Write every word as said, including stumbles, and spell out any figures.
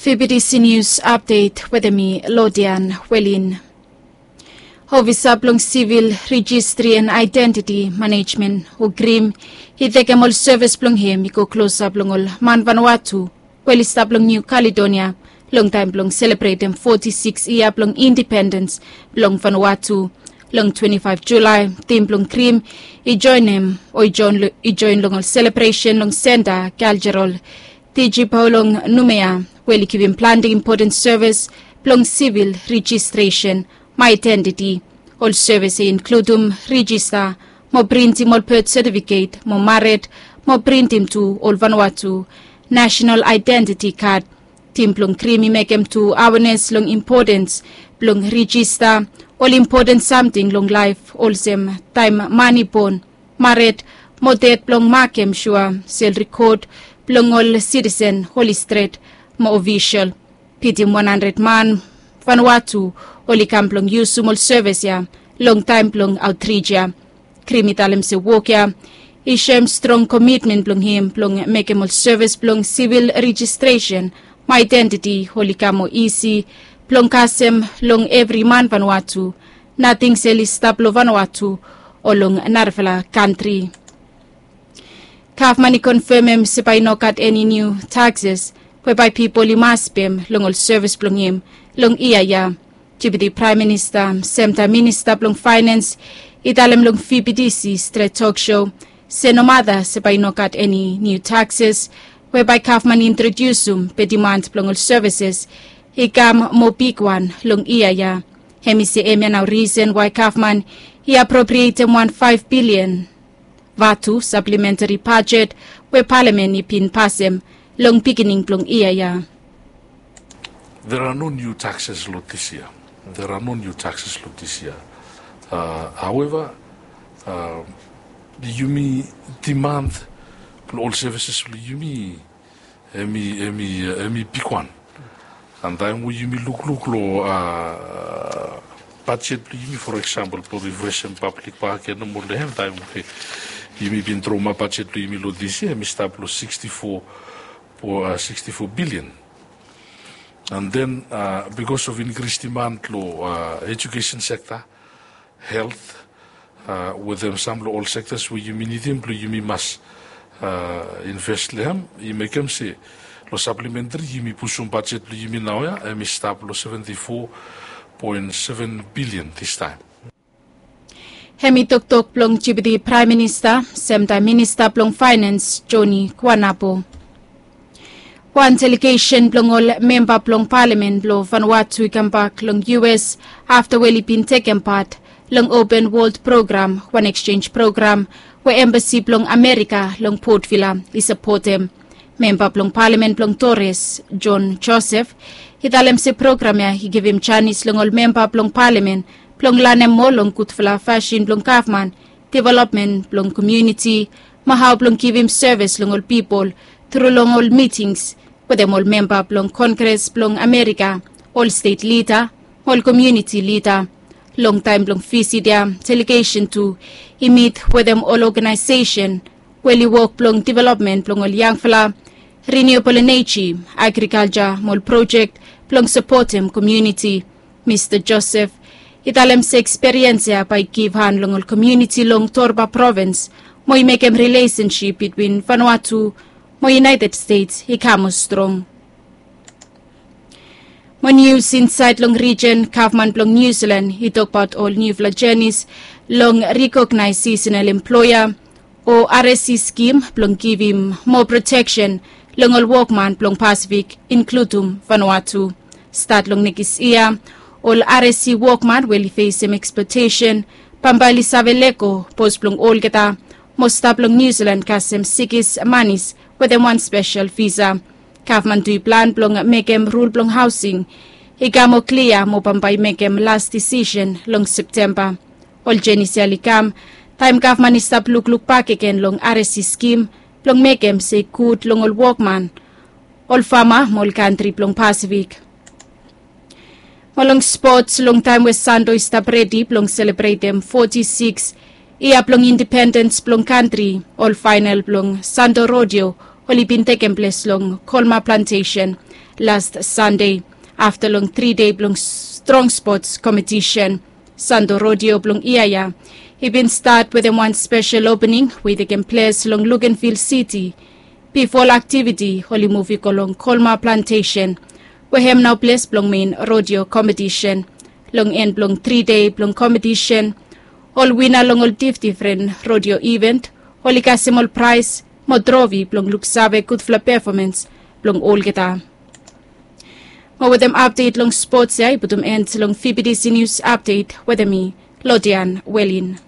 B B T C News Update wetem mi Lodian Welin. Ofisa blong Sivil Rejistri and Identiti Manejmen o Krim i tekem ol sevis blong hem i go klosap long ol man Vanuatu we oli stap long Niu Kaledonia long taem blong selebretem foti sikis yia blong indipendens blong Vanuatu. Long twenti faef Julae, tim blong Krim i joenem o i joen long ol selebresen long Senta Kaljerol Tijipau long Numea we oli givim plante impoten sevis blong sivil rejistresen mo aedentiti. Ol sevis i inkludum rejista mo printim ol bet setifiket mo mared mo printim tu ol Vanuatu nasenal aedentiti kad. Tim blong Krim i mekem tu awenes long impotens blong rejista ol impoten samting long laef olsem taem man i bon, mared mo ded blong makem sua se ol rekod blong ol sitisen oli stret mo ofisol. Bitim wan handred man Vanuatu oli kam blong yusum ol sevis ya long taem blong aotrij ya. Krim i talem se wok ya i soem strong komitmen blong hem blong mekem ol sevis blong sivil rejistresen mo aedentiti oli kam moa isi blong kasem long evri man Vanuatu, nating se oli stap long Vanuatu o long narafala kantri. Gavman i konfemem se bae i no gat eni niu takses we bae pipol i mas pem long ol sevis blong hem long yia ya. Deputi Praem Minista semtaem Minista blong Faenens i talem long V B T C Stret Tok Sho se nomata se bae i no gat eni niu takses we bae gavman i introdiusum be dimand blong ol sevises i kam moa bigwan long yia ya. Hem i se hemia nao risen wae gavman i aproprietem wan faef bilian vatu saplementari bajet we palamen i bin pasem long bigining blong yia ya. There are no new taxes lo this year. There are no new taxes lo this year. However, yumi dimand blo ol sevises blo yumi hemi hemi hemi bigwan. An taem we yumi lukluk lo bajet blo yumi, for example, blo rifresem pablik baken nomo long hem taem we yumi bin tromap bajet blo yumi lo this year hemi stap lo sixty-four bilian. An then bikos of inkris dimand lo ejukesen sekta, helt, wetem sam lo ol sektas we yumi nidim blo yumi mas inves lo hem, i mekem se lo saplementari yumi pusum bajet blo yumi naoia hemi stap lo seventy-four point seven bilian distaem. Hemi toktok blong Deputi Praem Minista semtaem Minista blong Faenens Joni Kuanapo. Wan delegesen blong ol memba blong palamen blong Vanuatu i kambak long U S afta we oli bin tekem pat long Open World Program, wan eksenj program we embasi blong Amerika long Port Vila i sapotem. Memba blong palamen blong Torres, John Joseph, i talem se program ya i givim janis long ol memba blong palamen blong lanem moa long gudfala fasin blong gavman, developmen blong komuniti, mo hao blong givim sevis long ol pipol tru long ol mitings wetem ol memba blong Kongres blong Amerika, ol stet lida, ol komuniti lida. Long taem blong visit ya, delegesen tu i mit wetem ol oganaesesen we oli wok blong developmen blong ol yangfala, renewable energy, agrikalja mo ol projek blong sapotem komuniti. Mista Joseph i talem se eksperiens ya bae i givhan long ol komuniti long Torba provins mo i mekem rilesensip bitwin Vanuatu mo United States i kam moa strong. Mo nius insaed long rijen, gavman blong Niu Silan i tokbaot ol niufala jenis long rikognaes sisenal emploea o R S C skim blong givim moa proteksen long ol wokman blong Pasifik, inkludum Vanuatu. Stat long nekis yia, ol R S C wokman we oli fesem eksplotesen bambae oli save lego pos blong olgeta mo stap long Niu Silan kasem sikis manis wetem wan spesel visa. Gavman tu i plan blong mekem rul blong haosing i kam moa klia mo bambae i mekem las disisen long Septemba. Ol jenis ya oli kam taem gavman i stap lukluk bakegen long R S C skim blong mekem se i gud long ol wokman, ol fama mo ol kantri blong Pasifik. Mo long spots, long taem we Santo i stap redi blong selebretem foti sikis yia blong indipendens blong kantri, ol faenal blong Santo Rodeo oli bin tekem ples long Kolma Plantesen last Sande afta long tri dei blong strong spots kompetisen. Sando Rodeo blong ia ya i bin stat wetem wan spesel opening we i tekem ples long Lukenvil Siti. Bifo ol aktiviti oli muv i go long Kolma Plantesen we hem nao ples blong mein rodeo kompetisen. Long en blong tri dei blong kompetisen, ol wina long ol difdifren rodeo iven oli kasem ol praes mo trofi blong luksave gudfala pefomans blong olgeta. Mo wetem apdet long spots ya i putum en long fibidisi nius apdet wetem mi, Lodian Welin.